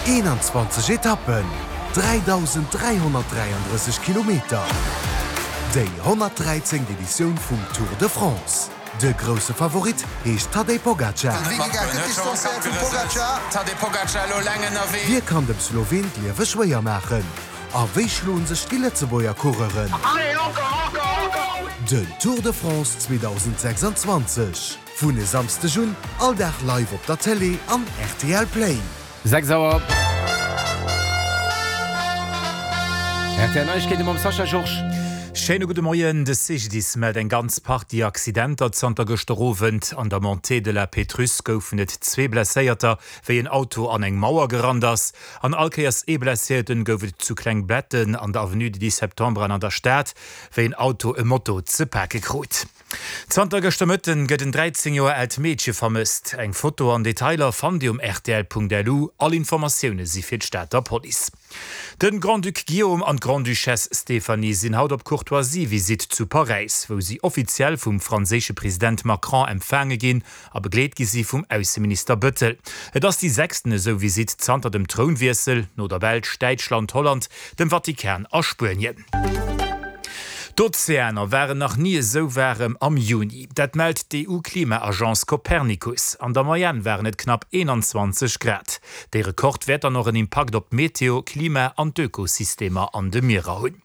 21 Etappen, 3.333 Kilometer, déi 113. Editioun vum Tour de France. De grousse Favorit heescht Tadej Pogacar. Wie kann dem Sloween d'Liewe schwéier maachen? A wéi schloen sech déi Lëtzebuerger Coureuren? Den Tour de France 2026 vun e Samsdeg un all Dag live op der Télé an rtl Play. 6 Auer. Rtl Neiegkeete mam Sascha Georges. Schéine gudde Moien. De CGDIS mellt eng ganz Partie Accidenter zanter gëschter Owend. An der Montée de la Pétrusse goufen et zwee Blesséierter, wéi en Auto an eng Mauer gerannt ass. An all Kéiers ee Blesséierten gouf et zu Klengbetten an der Avenue du 10 Septembre an an der Stad, wéi en Auto e Moto ze pake krut. Zanter gëschter Mëtten gëtt en 13 Joer aalt Meedche vermësst. Eng Foto an Detailer fannt Dir um rtl.lu. All Informatioune si fir d'Stater Police. De Grand-Duc Guillaume an d'Grande-Duchesse Stéphanie sinn haut op Courtoisie-Visitt zu Paräis, wou si offiziell vum franséische President Macron empfaange ginn a begleet gi si vum Ausseminister Bëttel. Et ass déi sechsten esou Visitt zanter dem Trounwiessel, no der Belsch, Däitschland, Holland, dem Vatikan a Spuenien. D'Ozeaner waren nach ni esou waarem am Juni. Dat mellt d'EU-Klima-Agence Copernicus. An der Moyenne waren et knapp 21 Grad. Dee Rekord wäert dann och en Impakt op d'Meteo, Klima an d'Ökosystemer an de Mierer hunn.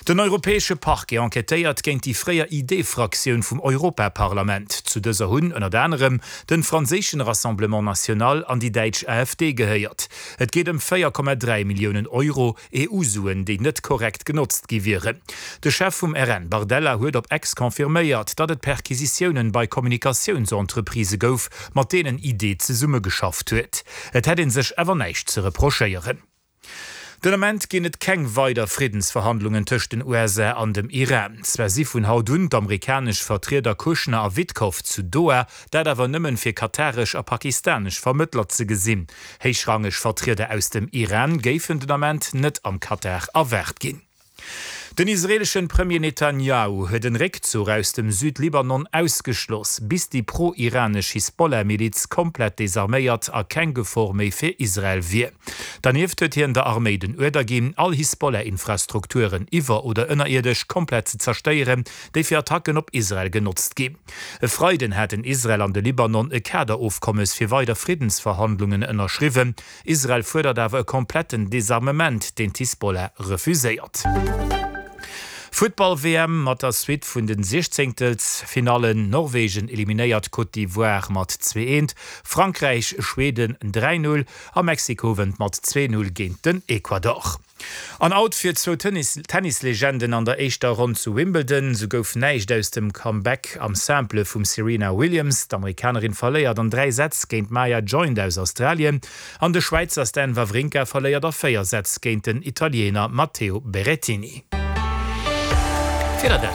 Den europäesche Parquet enquêtéiert géint déi fréier ID-Fraktioun vum Europaparlament. Zu dëser hunn ënnert anerem den franséischen Rassemblement National an déi däitsch AfD gehéiert. Et geet ëm 4,3 Milliounen Euro EU-Suen, déi net korrekt genotzt gi wieren. De Chef vum RN, Bardella, huet op X confirméiert, datt et Perquisitiounen bei Kommunikatiounsentreprisë gouf, mat deenen ID zesummegeschafft huet. Et hätt ee sech awer näischt ze reprochéieren. Den Ament ginn et keng weider Friddensverhandlungen tëscht den USA an dem Iran. Zwar si vun haut un d'amerikanesch Vertrieder Kushner a Witkoff zu Doha, dat awer nëmmen fir kataresch a pakistanesch Vermëttler ze gesinn. Héichrangeg Vertrieder aus dem Iran géifen den Ament net am Katar erwaart ginn. Den israeeleschen Premier Netanjahu huet en Réckzuch aus dem Südlibanon ausgeschloss, bis déi pro-iranesch Hisbollah-Miliz komplett desarméiert a keng Gefor méi fir Israel wier. Dernieft huet hien der Arméi den Uerder ginn, all Hisbollah-Infrastrukturen iwwer oder ënnerierdesch komplett ze zerstéieren, déi fir Attacken op Israel genotzt ginn. E Freiden haten Israel an de Libanon e Kaderofkommes fir weider Friddensverhandlungen ënnerschriwwen. Israel fuerdert awer e kompletten Desarmement, deen d'Hisbollah refuséiert. Futtball-WM mat der Suite vun den Siechzéngtelsfinallen, Norwegen eliminéiert Côte d'Ivoire mat 2, 1, Frankräich Schweden 3, 0 a Mexiko wënnt mat 2, 0 géint den Ecuador. An Out fir zwou Tennislegenden an der éischter Ronn zu Wimbledon. Sou gouf näischt aus dem Comeback am Simple vum Serena Williams. D'Amerikanerin verléiert an 3 Sätz géint d'Maya Joint aus Australien an de Schwäizer Stan Wawrinka verléiert a 4 Sätz géint den Italiener Matteo Berrettini. Wieder dann.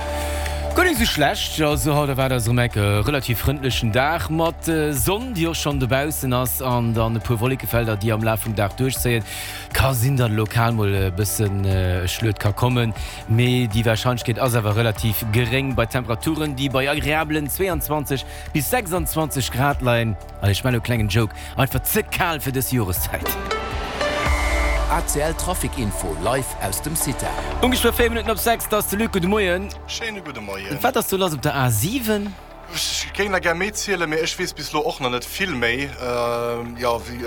Guer nik sou schlecht, also haut erwaart eis erëm enk e relativ frëndlechen Dag mat Sonn, déi och schonn dobaussen ass, an dann e puer Wollekefelder, déi am Laf vum Dag duerchzéien. Ka sinn, datt lokal mol e bëssen Schluet ka kommen, mee déi Warscheinlechkeet ass awer relativ geréng bei Temperaturen, déi bei agreabelen 22 bis 26 Grad leien. Allez, ech maachen elo e klengen Joke, einfach ze kal fir dës Joreszäit. ACL Trafic Info live aus dem CITA. Ongeféier 4 Minutten op 6, 't ass de Luc. Gudde Moien. Schéine gudde Moien. Wat ass do lass op der A7? Ech géing der gär méi zielen, mee ech weess bis elo och nach net vill méi. Jo, wéi,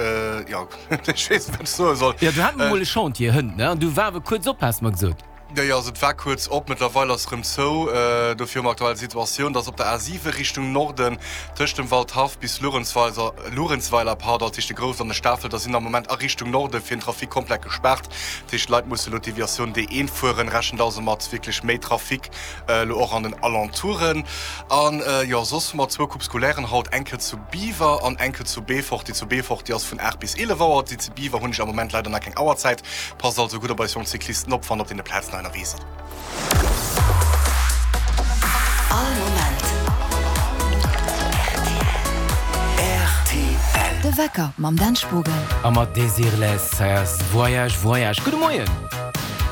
jo, ech weess net, wat ech soe soll. Jo, do hat mer mol e Chantier hënt, ne? An du war awer kuerz op, has mer gesot. Jo, jo, also et war kuerz op, mëttlerweil ass erëm zou. Dofir hu mer aktuell d'Situatioun, dass op der A7 Richtung Norden tëscht dem Waldhaff bis Luerenzweiler, Luerenzweiler, pardon, dat heescht de Grouss an de Stafelter sinn am Moment a Richtung Norde fir den Trafic komplett gespaart. Dat heescht, d'Leit musse elo d'Deviatioun D1 fueren, rechent also mat wierklech méi Trafic elo och an den Alentouren. An jo, soss hu mer zwou Coupe scolairen haut, eng Kéier zu Biwer an eng Kéier zu Beefort. Déi zu Beefort, déi ass vun 8 bis 11 Auer. Déi zu Biwer hunn ech am Moment leider nach keng Auerzäit. Passt also gutt op eis jonk Cyclisten op, wann der op deene Plazen hei ënnerwee sidd. All Moment rtl. De Wecker mam Dan Spogen. A mat Desireless, hei ass Voyage Voyage. Gudde Moien!